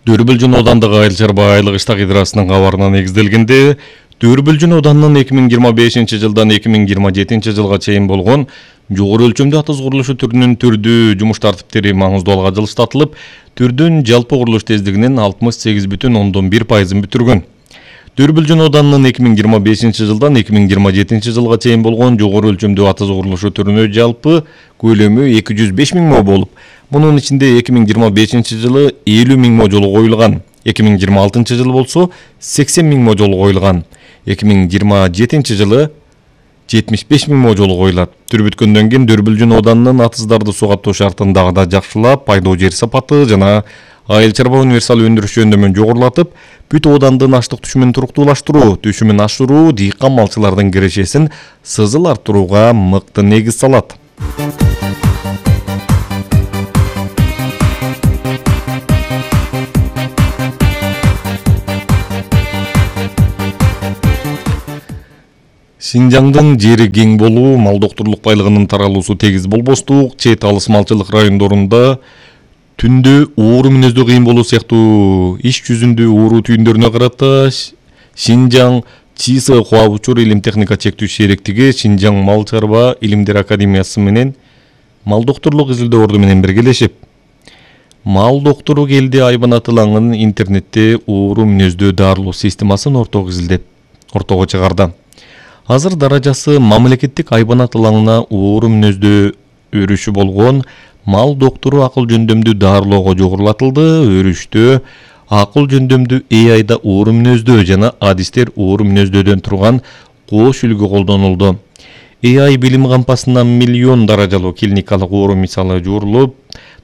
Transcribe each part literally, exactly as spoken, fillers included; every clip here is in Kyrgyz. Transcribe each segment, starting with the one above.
Дөрбүлжүн аудандык айыл чарба айлык иштак идрасынын кабарына негизделгенде, Дөрбүлжүн ауданынын эки миң жыйырма бешинчи жылдан эки миң жыйырма жетинчи жылга чейин болгон жогору өлчөмдүү атыз курулушу түрүнүн түрдүү жумуш тартиптери маңыздуу алга жылыштатылып, түрдүн жалпы курулуш тездигинин алтымыш сегиз бүтүн ондон бир пайызын бүтүргөн. Дөрбүлжүн ауданынын эки миң жыйырма бешинчи жылдан эки миң жыйырма жетинчи жылга чейин болгон жогору өлчөмдүү атыз курулушу түрүнө жалпы көлөмү эки жүз беш миң мо болуп, мунун ичинде эки миң жыйырма бешинчи жылы элүү миң мо жолу коюлган, эки миң жыйырма алтынчы жылы болсо сексен миң мо жолу коюлган, эки миң жыйырма жетинчи жылы жетимиш беш миң мо жолу коюлат. Түр бүткөндөн кийин Дөрбүлжүн ауданынын атыздарды суу каттоо шартын дагы да жакшылап, пайдоо жер сапаты жана айыл чарба универсал өндүрүш жөндөмүн жогорулатып, бүт аудандын аштык түшүмүн туруктуулаштыруу, түшүмүн ашыруу дыйкан малчылардын кирешесин сызыл арттырууга мыкты негиз салат. Шинжаңдын жери кең болуу, мал доктурлук байлыгынын таралуусу тегиз болбостук, чет алыс малчылык райондорунда түндө ууру мүнөздүү кыйын болуу сыяктуу иш жүзүндө ууру түйүндөрүнө карата Шинжаң ЧИСы Хуа Учур илим техника чектүү шериктиги Шинжаң мал чарба илимдер академиясы менен мал доктурлук изилдөө орду менен биргелешип, мал доктору келди айбанатылаңын интернетте ууру мүнөздүү дарылоо системасын ортого изилдеп ортого чыгарды. Азыр даражасы мамлекеттик айбанат ылаңына ууру мүнөздүү өрүшү болгон мал доктору акыл жөндөмдүү дарылоого жогорулатылды. Өрүштө акыл жөндөмдүү эй айда ууру мүнөздөө жана адистер ууру мүнөздөөдөн турган кош үлгү колдонулду. эй ай билим кампасынан миллион даражалуу клиникалык ууру мисалы жуурулуп,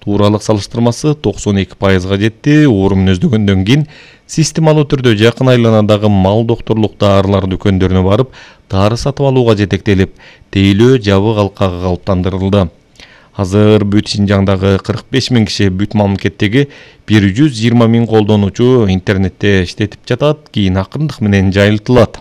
тууралык салыштырмасы токсон эки пайызга жетти. Ууру мүнөздөгөндөн кийин системалуу түрдө жакын айланадагы мал докторлук даарылар дүкөндөрүнө барып, дары сатып алууга жетектелип, тейлөө жабык алкагы калыптандырылды. Азыр бүт Шинжаңдагы кырк беш миң киши, бүт мамлекеттеги бир жүз жыйырма миң колдонуучу интернетте иштетип жатат, кийин акырындык менен жайылтылат.